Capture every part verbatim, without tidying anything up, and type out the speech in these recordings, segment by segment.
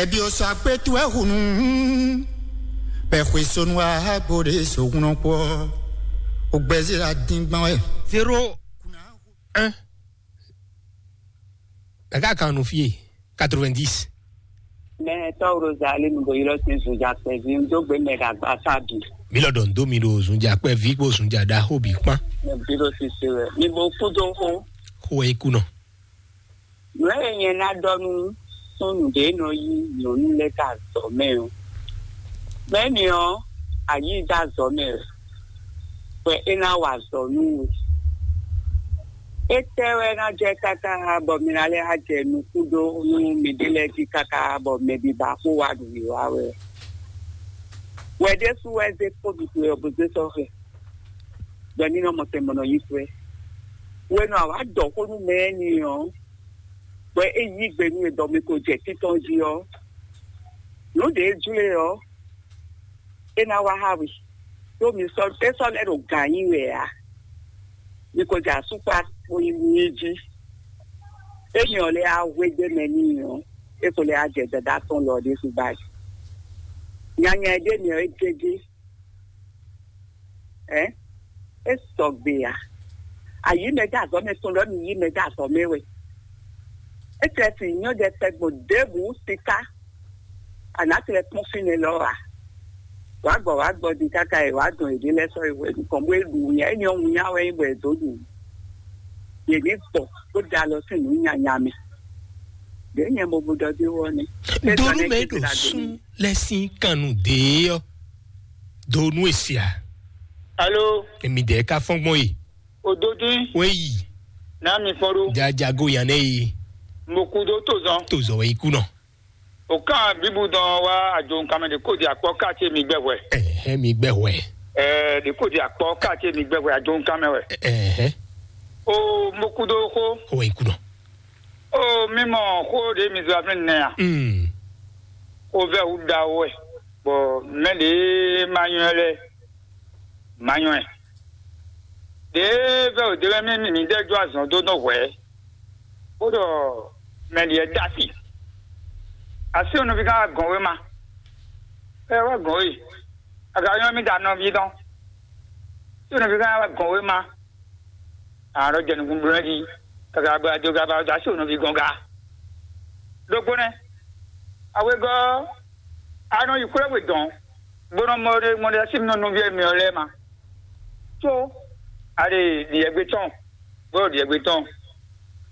Bi o sɔ akpé towe hunu, bɛ xwe sonu wa bo ɖe so hunɔ kpɔ, o gbɛzí la dín gbɔn wɛ. Zéro un. Ɖaka kan nu fie, quatre-vingt-dix. Mɛ tɔw Rosalie nu bo yi lɔ sin zuja kpɛvi n dó gbe mɛ ɖagba sábì. Mi lɔ ɖɔ n dó mi ɖo zunja kpɛvi kpó zunja ɖaxó bǐ kpán. Mɛ bí ɖo sise wɛ. Mi bo kú dó xó. Xó wɛ é kú nɔ. Nǔ e nyɛ ná ɖɔ nú súnnu ɖě nɔ yí nyɔ̌nu lɛ́ɛ dó azɔ̌ mɛ ɔ́, mɛ̌ni ɔ́, a yí i dó azɔ̌ mɛ wɛ, bɔ é ná wa azɔ̌ nú we. Étɛ́ wɛ ná jɛ káká bɔ mi ná lɛ́ wá jɛ nukún dó nú miɖée lɛ́ɛ jí káká bɔ mɛ bǐ ba xó wá ɖu mǐ wá wɛ? Wɛ ɖésú wɛ zé kpó ɖuɖu ɔ́ bó zé sɔ́ xɛ, bɔ mí nɔ mɔ tɛn bɔ nɔ yí kwɛ́. Wɛ nɔ awǎ ɖɔ xó nú mɛ énɛ́ ɔ́, bɔ é yí gbe nú we ɖɔ mi ko jɛ títɔn jí ɔ́, nǔ ɖě jlé ɔ́, é ná wá xá we, ɖó mi sɔ́ é sɔ́ lɛ́ ɖo gǎn nyi wɛ ǎ. Mi ko jɛ asúkpa bó yi nú i jí. Ényí ɔ́ lɛ́ á hwégbé mɛ n'i ɔ́, é ko lɛ́ á jɛ dada tɔn lɔ ɖésú báyìí. Nyanya e ɖ'é mɛ ɔ́, é gégé. Ɛ é sɔgbe ǎ. Ayǐ mɛ dó azɔ̌ mɛ tɔn ɖɔ mi yí mɛ dó azɔ̌ mɛ wɛ. É tlɛ sin nyɔ́ ɖɛkpɛ gbɔn ɖěbǔ siká. Anǎ tlɛ kpɔ́n fínɛ́ lɔ ǎ. Wǎ gbɔ wǎ gbɔ din káká e wǎ dɔn yěɖée lɛ́ɛ sɔ́ yi hwɛ nukɔn bó e ɖu wǔnya, éni ɔ́ wǔnya wɛ nyí bɔ è dǒ ɖu. Yě ní gbɔ bó da alɔ sín nǔ nyanya mɛ. Ɖě nyɛ mo bu ɖɔ dó wɔ nɛ́. Donu mɛ ɖo sún lɛ sín kannu dě ɔ́. Donu esia. Alo. Emi dɛ ka fɔn gbɔn yi. Ododui. Wɛ yi. Na mi fɔn ɖo. Jajago yan nɛ yi. Mo kú dó tó zɔn. Tó zɔ wɛ yi kú nɔ. O kan bibu dɔn wa ajo nkan mɛ de ko di akpɔ ka ce mi gbɛ hwɛ. Ɛhɛ, mi gbɛ hwɛ. Ɛɛ, de ko di akpɔ ka ce mi gbɛ hwɛ ajo nkan mɛ wɛ. Ɛhɛ. O mo kú dó xó. Wɛ yi kú nɔ. O mi mɔ xó de mi zɔ afin nɛ a. Mm. O vɛ wu da wɛ. Bɔ mɛ de ma nyɔ lɛ. Ma nyɔ ɛ. Ɖěe vɛ́ wǒ dé wɛ mì mǐmí ɖɛ́ jó azɔn dó nɔ hwɛ̌, bó ɖɔ mɛ ɖíe dó asi. Asi onɔví gán wá gɔn wé ma. Ɛ wá gɔn wé. Aga nyɔ́ mì da nɔví dɔn. Sí onɔví gán wá gɔn wé ma. Àrò jɛ nukún bló jí. Kaka bɔ ajo ga ba asi onɔví gɔn ga. Ɖokpó nɛ́. Awegɔ́ a nɔ yi xwlɛ́ we dɔn, bó nɔ mɔ ɖe mɔ ɖe asi nɔ nɔví mì ɔ́ lɛ́ɛ ma. Có a ɖe ɖiɛgbé tɔn, bó ɖo ɖiɛgbé tɔn.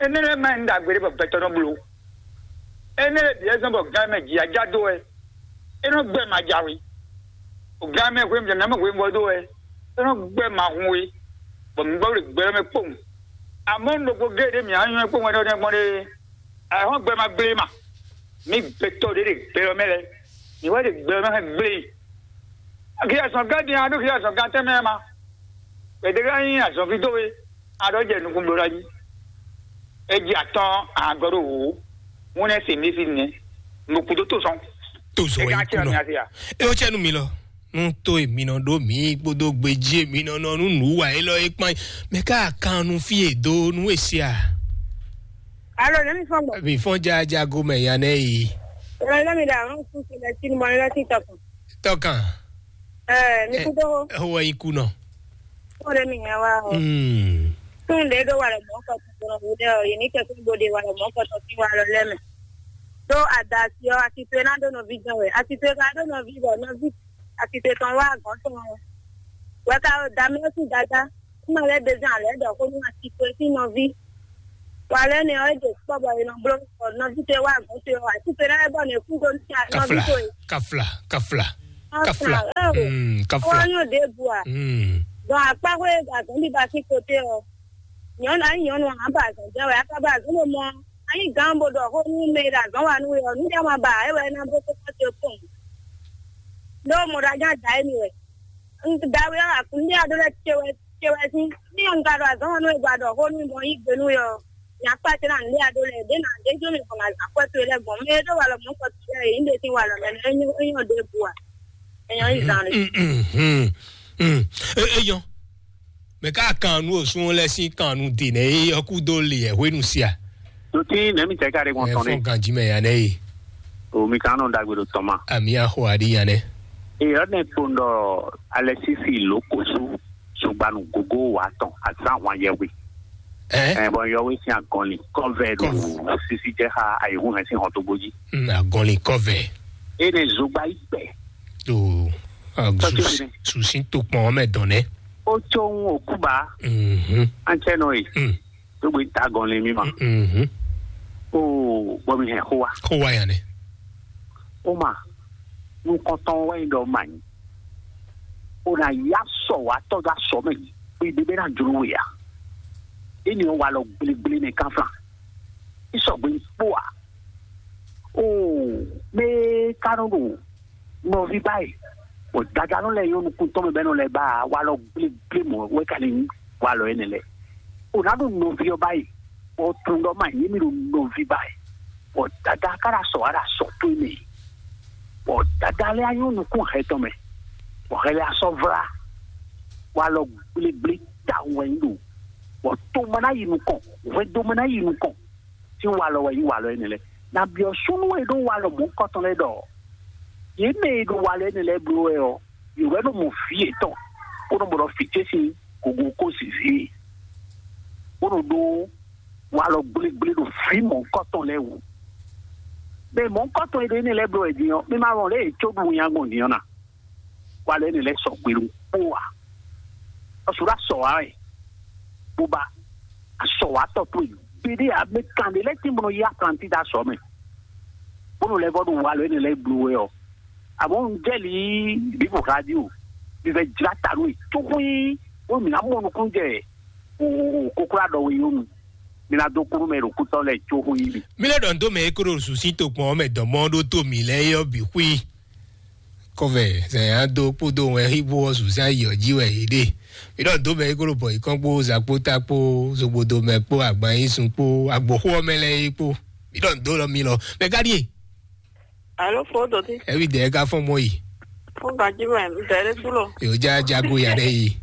Énɛ́ lɛ́ɛ ma nyí nǔ ɖagbe ɖé bɔ gbɛtɔ́ nɔ bló. Énɛ́ lɛ́ɛ bǐ wɛ zɔ́n bɔ gán mɛ jǐ ajá dó wɛ. É nɔ gbɛ́ ma jǎwe. Gán mɛ hwenu jɛ nǎ mɛ hwenu vɔ dó wɛ. É nɔ gbɛ́ ma hun we, bɔ mǐ gbɔ ɖo gbɛ ɔ́ mɛ kpowun. Amɔ̌ un ɖokpó géé ɖě mǐ á nyɔ́ kpowun wɛ ɖɔ nɛ́ gbɔn ɖe. Ayǐhɔ́ngbe ma gblé ma. Mǐ gbɛtɔ́ ɖě ɖe gbɛ ɔ́ mɛ lɛ́ɛ, mǐ wɛ ɖe gbɛ ɔ́ mɛ hɛn gblé. Axi azɔ̌ gán din a ɖó xi azɔ̌ gán tɛnmɛ ma. Gbɛdɛgán nyí azɔ̌ví dó we, a ɖɔ jɛ nukún bló ná jí. É jí atɔ́ɔ́n a gɔ́ ɖo wǔ, ŋúnɛ se mí fí nɛ́. Mo kú dó tó sɔn. Tó sɔn é wɛ gán yí kú nɔ. É ó cɛ nú mi lɔ. Nú tó èmi nɔ ɖó mǐ kpódó gbejí èmi nɔ nɔ nú nǔ wa élɔ́ é kpán mɛ ká kan nu fí è dó nú è se a? Alo, ne mi fɔn gbɔ. Mi fɔn jaja go mɛ ya nɛ yi. Alo, ne mi da ɔn kun se lɛ tinu mɔ lɛ ti tɔkun. Tɔkan. Ɛɛ, mi kú dó. Ho wɛ yi ku nɔ. Ko ɖe mi nya wa o. Hmm. Tun ɖe ɖo wa lɛ mɔ kɔ tɔn tɔn wo ɖe o, yi ni kɛ tun bo ɖe wa lɛ mɔ kɔ tɔn ti wa lɔ lɛ mɛ. Ɖó adasi ɔ, asi to e ná ɖó nɔví jɛn wɛ. Asi to e ka ɖó nɔví bɔ nɔví asi to e tɔn wá agɔ̌n tɔn ɔ́. Wɛ ka da mɛ ɔ́ sín dada. Kúmɛ lɛ́ɛ ɖe zán alɛ̌ ɖɔ xó nú asi to e sín nɔví. Wa lɛ́ɛ nɛ ɔ́, é ɖo kpɔ́ bɔ è nɔ bló bɔ nɔví to e wá agɔ̌n to e ɔ́, asi to e ná lɛ́ bɔ nɛ kú ɖó nú nɔví Kafla, to e. Kafla, kafla, kafla. Ɔ́, mm, kafla. Wá nyɔ ɖěbǔ a? Mm. Dɔn akpá xwé e ɖo azɔ̌ ɖiɖa sín kote ɔ́, nyɔ̌nu, ányí nyɔ̌nu ǎ, ba azɔ̌ jɛ wɛ, a ka ba azɔ̌ ɖo mɔ, ányí gǎn bó ɖɔ xó nú mɛ e ɖo azɔ̌ wa nú we ɔ́, nú jɛ ma ba ǎ, é wɛ é ná bló kókó ce kpɔ́n. Ɖó mɔ ɖo ajá da émí wɛ. Un da we ɔ́, akun ní a ɖó lɛ́ ce wɛ, ce wɛ sín. Ní un ka ɖo azɔ̌ wa nú we gba ɖɔ xó nú mɔ yí gbe nú we ɔ́, nya kpá ce ná nǔ ɖé a ɖó lɛ́ɛ, ɖě ná ɖě jó mi gbɔn azǎn kwɛ́ towe lɛ́ɛ gbɔn. Mɛ e ɖó walɔ mɔ̌ kɔ towe lɛ́ɛ, yě ní ɖe sín walɔ mɛ nɛ, é nyɔ́, é nyɔ́ ɖěbǔ a? É nyɔ́ yi zan ɖé. Mm, mm, mm, mm. E, e nyɔ́. Mɛ ká kan nú òsún lɛ́ɛ sín kan nú dě nɛ é ɔ́ kú dó le ɛ hwenu sia. Nutí nɛ̌ mi tɛ ká ɖe gbɔn Ɛ tɔn fɔ́n ɖe? Ganjí mɛ ya nɛ e. O mi kan nɔ dagbe ɖo tɔn ma. Ami axɔ aɖi nya nɛ. Eyɔ ne kpo ɖɔ Alexis Lokosu sugbanu gogo wa tɔn azan wan yɛwe. Ɛ? Ɛ bɔn yɔwe sin agɔnli kɔvɛ ɖo Kɔvɛ. Sisi jɛ xa ayihu hɛn sin hɔn to gbodzi. Mm, agɔnli kɔvɛ. E ne zogba yi gbɛ. O, a, Tɔtɔ su, ne. Susin to kpɔn mɛ dɔn nɛ. O tso ŋu okuba. Mhm. An cɛ nɔ ye. Mm. Tó gbé ta gɔn lé mi ma. Mhm. O bɔ mi hɛn xó wa. Xó wa ya nɛ. O ma, nukɔntɔn wɛ yi ɖɔ ma nyi. O na ya sɔ wa tɔ da sɔ mɛ. Gbe de bɛ na jlo we ya. E ni wa lɔ gble gble ne kan flan. I sɔ gbe kpo a. O me ka nɔ ɖo nɔví báyìí. Bɔ dadanu lɛ yɔ nukun tɔn mɛ bɛ nɔ lɛ ba wa lɔ gble gble mɔ wɛ ka ni wa lɔ yɛ nɛ lɛ. O na ɖo nɔví ɔ báyìí. Bɔ tun dɔ ma yé mi ɖo nɔví báyìí. Bɔ dada ka ɖa sɔ wa ɖa sɔ to mɛ. Bɔ dada lɛ anyɔ nukun hɛ tɔn mɛ. Bɔ hɛ lɛ asɔ vla. Wa lɔ gble gble ta wɛ yi ɖo. Bɔ to ma na yi nukɔn. Hwɛ do ma na yi nukɔn. Tí walɔ wɛ yí walɔ énɛ́ lɛ́ɛ. Na byɔ́ súnnu e ɖó walɔ mɔ̌hunkɔtɔn lɛ́ɛ ɖɔ yě mɛ e ɖo walɔ énɛ́ lɛ́ɛ bló wɛ ɔ́, yě wɛ ɖo mɔ vǐ yětɔn, bó nɔ bó nɔ fǐ ce sín gogo kó zǐzí, bó nɔ ɖó walɔ gblégblé ɖo vǐ mɔ̌hunkɔtɔn lɛ́ɛ wú. Mɛ mɔ̌hunkɔtɔn e ɖo énɛ́ lɛ́ɛ bló wɛ din ɔ́, mi ma wɔn lě e có ɖu winnyá gbɔn din ɔ́ na. Wa lɛ ne lɛ sɔ gbelu kpó wa. Ɔsù la sɔ wa wɛ. Bó ba asɔ wa tɔ tó yi. Bidi a mi kan de lɛ ti mɔnɔ yi aplanti da sɔ mɛ. Bónú lɛ vɔ ɖo wa lɛ ne lɛ blu wɛ ɔ. Àmọ́ ń jẹ́lì bíbù radio bí fẹ́ jìlá ta lóye tó xwí ó mì ná mɔ nukún jẹ o kókó adɔ wí yónú. Mi ná dó kúrú mɛ ɖo kútọ́ lɛ tó xwí mi. Mi lɛ ɖɔ ndo mɛ e kó ɖo susi to kpɔn mɛ dɔmɔ ɖó to mi lɛ yɔ bi xwí. Kɔvɛ zɛn ado kpódó wɛn xíbó ɔ́ zuzá yi ɔ́ jí wɛ yě ɖe. Mi ɖɔ dǒ mɛ é kó ɖo bɔ yě kɔn kpó zakpóta kpó zogbodo mɛ kpó agban yín sun kpó agboxó ɔ́ mɛ lɛ́ɛ é kpó. Mi ɖɔ dǒ lɔ mi lɔ mɛ ká ɖíe. Alo fo doti. Ɛbi dɛ ká fɔn mɔ yi. Fo gaji mɛ dɛ ɖe su lo. Yóò já jago ya ɖe yi.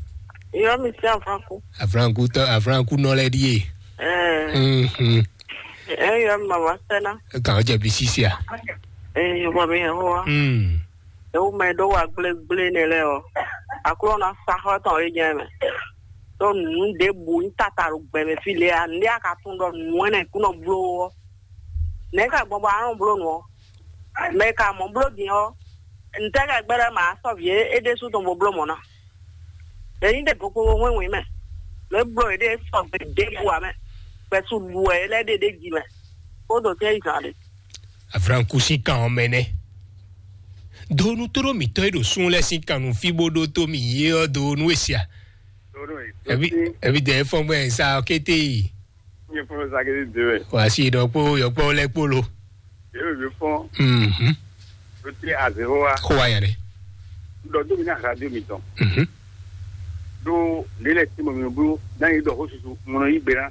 Yɔ mi sí afranku. Afranku tɔ afranku nɔ lɛ ɖíe. Ɛɛ. Mhm. Ɛɛ yɔ mi mama sɛna. Kàn ɔ́ jɛ bi sísí a. Ɛɛ yɔ bɔ mi yɛ hó wa. Mm. Ewu mɛ ɖó wa gblégblé nɛ lɛ ɔ, akló na sa xɔ tɔn yi nyɛ mɛ. Tó nǔ ɖěbǔ nyí tata ɖo gbɛ mɛ fí lě a nǔɖé a ka tunwun ɖɔ nǔ ɛnɛ kú nɔ bló ɔ́, nɛ̌ ka gbɔn bɔ a nɔ bló nǔ ɔ́? Mɛ e ka mɔ bló din ɔ́, ntɛ́ ka gbɛ́ ɖɔ ma sɔ́ vǐ é ɖésú tɔn bó bló mɔ̌ ná? Yě nyí ɖě gokpokpo hwɛ́nhwɛ́n mɛ, lě bló yě ɖe sɔgbe ɖěbǔ ǎ mɛ, gbɛ̌su ɖu wɛ é lɛ́ ɖe ɖ'é jí mɛ, kó ɖo tɛ́ yi zǎn ɖé. Afranku sín kan ɔ́ mɛ nɛ́. Donu tóɖó mǐtɔn e ɖo sun lɛ́ɛ sín kan nú fí bó ɖótó mì yé ɔ́ donu e sia. Ebi ebi dɛ fɔn gbɛ sa kété yi. Nye fɔn sa kété de wɛ. Wà á sí ìdán kpó yɔkpɔ lɛ kpó lo. Yóò yóò fɔn. Mhm. Ló ti azéwó wa. Kó wa yà rẹ. Dɔ dó mi ní ahadu mi tɔn. Mhm. Ɖó lě lɛ́ɛ ti mɔ mi bló ná yi ɖɔ xó susu ŋlɔ yí gbe ná.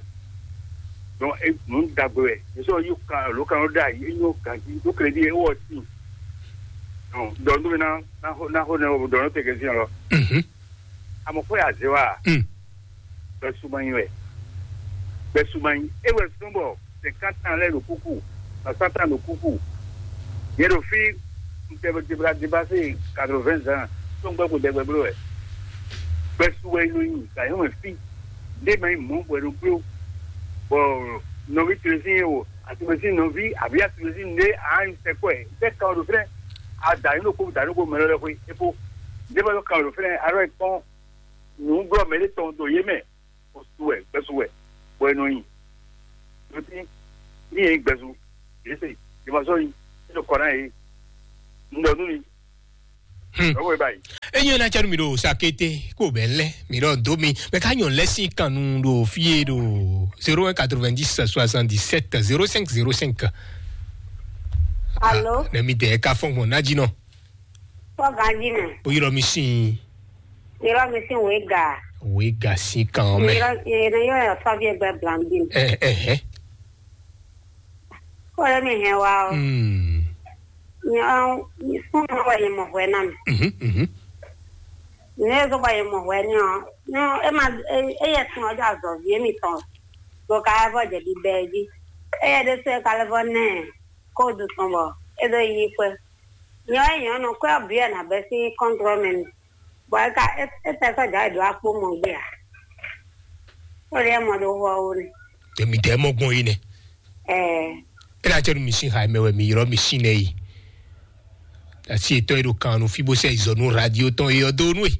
Donc e nǔ dagbe wɛ. Yě sɔ yí kan ló kan ló ɖe ayi é nyɔ ganji ɖó crédit é wɔ sin. Donc dɔ dó mi ná ná xó ná xó nɛ wɔ dɔ nɔ tɛ kɛ sin lɔ. Mhm. Àmọ́ kó yà zé wa. Mm. Gbɛsuma nyi wɛ. Gbɛsuma nyi ewɛ sɔn bɔ cinquante ans lɛ ɖo kuku, soixante ans ɖo kuku. Yɛ ɖo fi ntɛbla debase quatre-vingts ans tó ń gbɛ kó dɛgbɛ bló wɛ. Gbɛsu wɛ nɔ nyi gayɔn wɛ fi. Ndé ma nyi mɔ bɔ ɛɖo gblo. Bɔ nɔvi tlesi yɛ wo, atlesi nɔvi abi atlesi ndé a nyi sɛkɔɛ. Ndé kan ɖo fɛnɛ. A da yín ɖo kó da yín ɖo kó mɛ lɔ lɛ xwe epo. Ndé ma ɖo kan ɖo fɛnɛ alɔ kpɔn. Nǔglɔ́ mɛ ɖé tɔn ɖo yé mɛ, o su wɛ, gbɛsu wɛ, bɔ è nɔ nyi. Ɖo tí ní yɛ gbɛsu, yě se, yě ma sɔ́ nyi, é ɖo kɔ ná yě. Un ɖɔ nú mi. Hmm. Lɔwọ́ ẹ báyìí. Enyi na tsanu mi ɖo sakete kó bɛ lɛ mi ɖɔ do mi mɛ ka nyɔ lɛsi kanu ɖo fie ɖo zéro un quatre-vingt-dix soixante-dix-sept zéro cinq zéro cinq. Alo. Ne mi dɛ ka fɔn gbɔn nadzi nɔ. Fɔ ganji mɛ. O yɔrɔ mi sin. Yɔrɔ mi sin wega. Wega sin kan mɛ. Yɔrɔ yɛrɛ yɔrɔ yɛ fɔ bi gbɛ blanbi. Ɛ ɛ hɛ. Kɔlɛ mi hɛn wa o. Hmm. Nyɛ nyɛ fún mi wɛ nyɛ mɔ hwɛ na mi. Mhm mhm. Nyɛ zɔ bɔ nyɛ mɔ hwɛ ni o. Nyɛ e ma e yɛ sun ɔjɔ azɔ vie mi tɔn. Bɔ ka vɔ jɛ bi bɛ ji. E yɛ de se ka le vɔ nɛ. Ko du tɔn bɔ. é ɖo yi xwɛ. Nyɔ é nyɔ nɔ kwɛ ɔ́ bǐ wɛ nǎ bɛ́ sín kɔntrɔ́ mɛ nu. Bɔ é ka é é tɛ sɔ́ jǎ yi ɖo akpó mɔ gbé ǎ. Sɔ́ ɖi é mɔ ɖo xɔ ó nɛ. Tèmi tɛ mɔ gbɔn yi nɛ. Ɛɛ. É ná cɛ nu mi sín xa mɛ wɛ mi ylɔ́ mi sín nɛ yi. Asi etɔ́ e ɖo kan nu fí bó sɛ izɔ nú radio tɔn e ɔ́ dó nú e.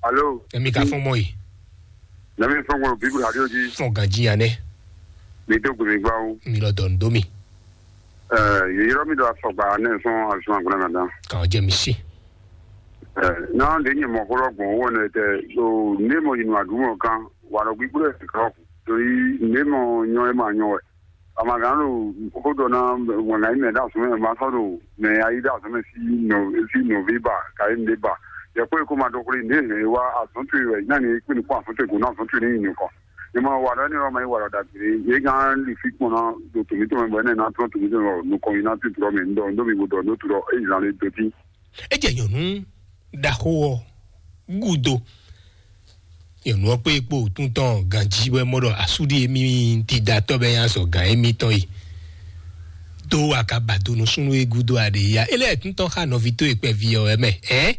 Alo. Tèmi ka fɔn mɔ yi. Nami fɔn gbɔn bíbélì radio jí. Fɔn ganjí ya nɛ. Mi dó gbèmí gbá o. Mi lɔ dɔn dó mi. Ɛɛ, yeyɔrɔ mi ɖo afɔgba ne sɔn azɔn agbana na dan. Kàn jẹ mi sí. Ɛɛ, na ɖe nyɛ mɔ xó lɔ gbɔn wɔ ne tɛ. O ne mɔ yi nu adumɔ kan. Wa lɔ gbígbó lɛ sikɔ. Torí ne mɔ nyɔ e ma nyɔ wɛ. Amagã ɖo xó ɖɔ ná wɛn ná yi mɛ ɖo azɔn mɛ ma sɔ́ ɖo mɛ ayi ɖo azɔn mɛ sí nɔ sí nɔví ba ka yi nɖé ba. Yɛ kpó e kó ma ɖo xwlé nɖé hɛn e wá azɔn towe wɛ ná ni kpé nukún azɔn towe gǒ ná azɔn towe ní yi nukɔn. Ní ma wa ɖɔ ní ɔ́ ma yi wa ɖɔ ɖagbe. Yě gán li fí kpɔn ná ɖo tòmítɔn mɛ bɔ énɛ́ ná tlɔ́n tòmítɔn mɛ bɔ nukɔn yi ná tún tlɔ́ mɛ ŋdɔ ŋdɔ mi bó ɖɔ nú tlɔ́ é zan lé dó tí. É jɛ nyɔ̌nu ɖaxó ɔ́ gúdo. Nyɔ̌nu ɔ́ kpé kpó wǔtún tɔn ganjí wɛ mɔ ɖɔ asúɖi émí tidatɔ́ bɛ nyi azɔ̌ gǎn émítɔn e. Dó akabado nú súnnu e gúdo aɖe ya. É lɛ́ tún tɔn xá nɔví tó e kpɛví ɔ́ wɛ mɛ. Ɛ̌?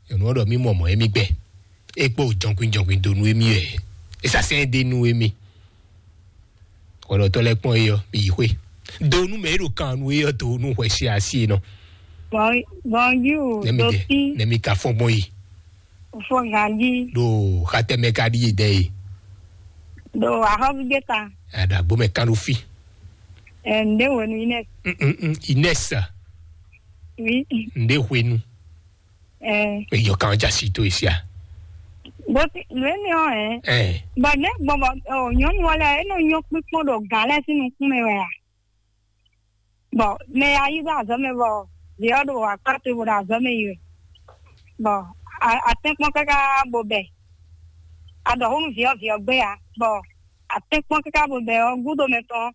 Nyɔ̌nu ɔ́ ɖɔ mí mɔ mɔ̌ émí gbɛ. É kpó jɔnkwín jɔnkwín dó nú émí wɛ. É sasɛn é ɖe nú émí. Xɔlɔtɔ́ lɛ́ɛ kpɔ́n é ɔ́, mi yi xwé. Do nú mɛ e ɖo kan nú é ɔ́, do nú hwɛ se asi e nɔ. Bɔn bɔn yú Nɛmi dɛ, doti nɛmi ka fɔn gbɔn yi. Fɔ ganji. Ɖo xatɛmɛ ka ɖi yi dɛ yi. Ɖo axɔ́vi gbé ta. Aɖa gbɔmɛ kan ɖo fi. Ɛ ǹdé wenu Inès. Mm, mm, mm, Inès. Oui. Ǹdé hwenu. Ɛ. Eyɔ kan ja si to esia. Bó ti lóye ni ɔ ɛ. Ɛ. Bɔn ne gbɔn bɔ ɔ nyɔnu wɔ lɛ e nɔ nyɔ kpikpɔn ɖo gǎn lɛ sín nukún mɛ wɛ a? Bɔn mɛ ya yi ɖo azɔ̌ mɛ bɔ vǐ ɔ́ ɖo akpá towe bó ɖo azɔ̌ mɛ yi wɛ. Bɔn atɛ́nkpɔ́n káká bó bɛ. Aɖɔ̌húnú vǐ ɔ́ vǐ ɔ́ gbé ǎ. Bɔn atɛ́nkpɔ́n káká bó bɛ ɔ́ gúdo mɛ tɔn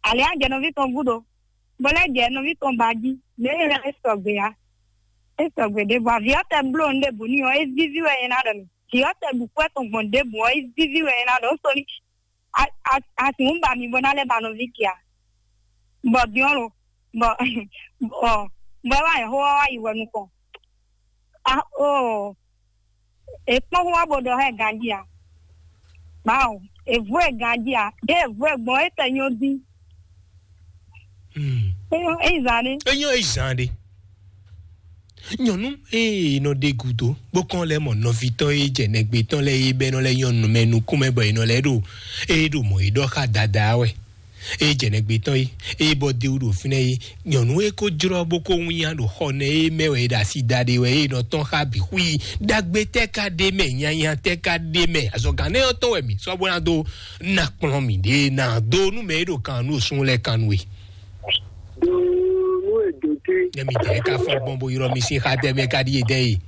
ali á jɛ nɔví tɔn gúdo. Bó lɛ́ jɛ nɔví tɔn ba jí. Mɛ é lɛ́ é sɔgbe ǎ. É sɔgbe ɖěbǔ. Avǐ ɔ́ tɛ bló nǔ ɖěbǔ n'i ɔ́, é víví wɛ nyɛ ná ɖɔ mi. Vǐ ɔ́ tɛ ɖu kú ɛ tɔn gbɔn ɖěbǔ ɔ́, é víví wɛ nyɛ ná ɖɔ. Ó sɔ́ ní a a a sǐn bá mi bó ná lɛ́ ba nɔví kia. Bɔ din ɔ́ lo, bɔ ɔ bɔ é wá nyɛ xó ɔ́ wá yi wɛ nukɔn. A oo, è kpɔ́n xó ɔ́ bó ɖɔ xá ɛ ganjí a? Mawu, è vú ɛ ganjí a? Ɖé è vú ɛ gbɔn é tɛ nyɔ dín. Hmm. É nyɔ é yi zan ɖé. É nyɔ é yi zan ɖé. Nyɔnu ée nɔ ɖe gúdo bó kɔn lɛ́ mɔ nɔví tɔn e jɛ nɛgbé tɔn lɛ́ɛ e bɛ́ nɔ lɛ́ nyɔnu mɛ nukún mɛ bɔ è nɔ lɛ́ ɖo é ɖo mɔ̌ é ɖɔ xá dada wɛ. E jɛ nɛgbé tɔn yi, e bɔ de wú ɖo fínɛ́ yi. Nyɔnu e ko jlɔ́ bó ko wínnyá ɖo xɔ nɛ e mɛ wɛ e ɖo asi da ɖe wɛ e nɔ tɔn xá bǐ xwí. Ɖagbe tɛ́ ka ɖe mɛ, nyanya tɛ́ ka ɖe mɛ, azɔ̌gán nɛ ɔ́ tɔn wɛ mǐ sɔ́ bó ná dó ná kplɔ́n mǐɖée ná dó nú mɛ e ɖo kan nú osún lɛ́ɛ kan nú we. Nú èdè tí Nyɛ mi dɛ ka fɔ gbɔn bo yrɔ mi sín xa dɛ mɛ ka ɖi e dɛ yi.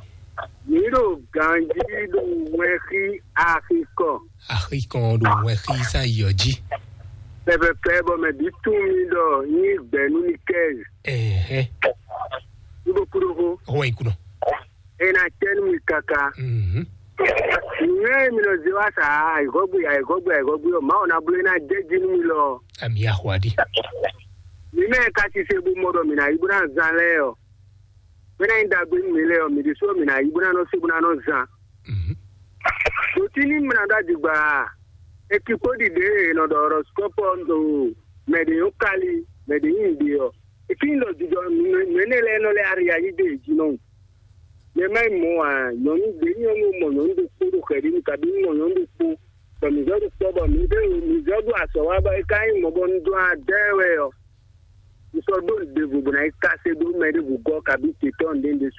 Mǐ ɖo ganjí ɖo wɛnxí axikɔ. Axikɔn ɖo wɛnxí sá yɔ jí. Pɛpɛpɛ bɔ mɛ bǐ tún mì ɖɔ nyí gbɛ̌ nú mi kɛ́. Ɛhɛn. Nú ɖokpó ɖokpó. Ɔwɔ yi kunɔ. É ná tɛ́ nú mi káká. Mhm. Nǔnywɛ́ e mi nɔ zé wá sa ayǐhɔ́gbe ayǐhɔ́gbe ayǐhɔ́gbe ɔ́, Mawu ná bló é ná jɛ jí nú mi lɔ. Ami axwa ɖi. Mi mɛ ka sise bó mɔ ɖɔ mǐ ná yi bó ná zán lɛ́ɛ ɔ́, mɛ ná nyí ɖagbe nú mi lɛ́ɛ ɔ́, mi ɖésú ɔ́, mǐ ná yi bó ná nɔ se bó ná nɔ zán. Mhm. Ɖo tí ní mlá ɖó adigba, ekipó ɖiɖe e è nɔ ɖɔ horoscope ɔ́ ɖo mɛ ɖě nyɔ́ kali, mɛ ɖě nyí nǔɖé ɔ́, é cí nyí ɖɔ jijɔ nǔ énɛ́ lɛ́ɛ nɔ lɛ́ ari ayí ɖe yě jí nɔ. Mɛ má yi mɔ ǎ, nyɔ̌nu ɖě nyɔ́nu mɔ nyɔ̌nu ɖokpó ɖo xɛ̌ ɖi nú kabi mɔ nyɔ̌nu ɖokpó, bɔ mǐ zɔ́ ɖo kpɔ́ bɔ mǐ ɖo mǐ zɔ́ ɖo azɔ̌ wa bɔ é ka nyí mɔ̌ bɔ un dɔn adɛ́ wɛ ɔ́, un sɔ́ ɖó nǔɖévo bó ná yi káse dó mɛ ɖěvo gɔ́ kabi tě tɔn ɖěɖě sú